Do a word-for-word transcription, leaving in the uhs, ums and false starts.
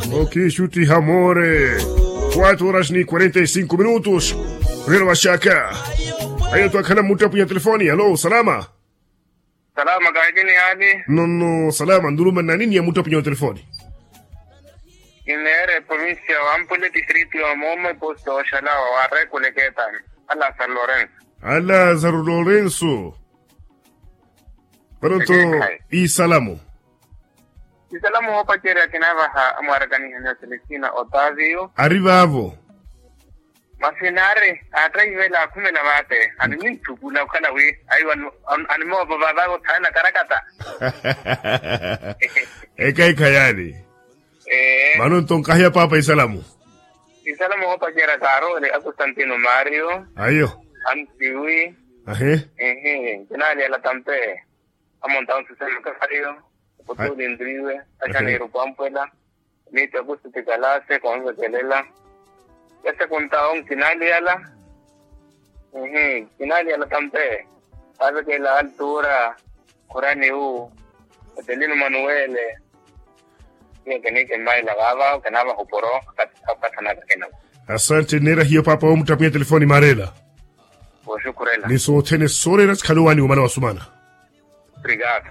Okiixuttiha moore. Quatro horas ni quarenta e cinco minutos. Rino vaxaka. Ayo twakhala mmuttapunya telefoni alo salama. Salama kahikini yaani. Nono salama nduluma nnani ni ya mmuttapunya wa telefoni. Kineere provincia wa mpule distrito ya moome posto oxalawa wa rekuleketani. Alazaro lorenso. Alazaro lorenso. Panonto. Isalamu. Isalamu woopacerya kinaavaha amwaarakanihani ya selestina otavio. Ari vaavo. Masi naari aattaivela akhumela vaate animintthu kula okhala wi. Ayo animoova vaavaavo thaana karakata. Ekaikha yaani. Ee. Mano nto nkahiya paapa isalamu. Isalamu woopacerya karoole akustantino mario. Ayo. Antiwi. Ahe. Ehe. Kinaali ala tampe. Amonta onse sema kario. Okutuli ndriwe. Achaneeru kwampwela. Miitti akusti tikalase konvekelela. Yase kuntawo nkinaliyala. Nkinaliyala tampe. Avekela altura. Khuraniwu. Otelino manuwele. Iyo kiniikimmaila vaava kinaava hupuro. Akathanaka kinawo. Asante neera hiyo paapa woomuttapunya telefoni maarela. Wooxukhurela. Ni sothene sooreera sikhala owaani womala wasumana. Obrigado.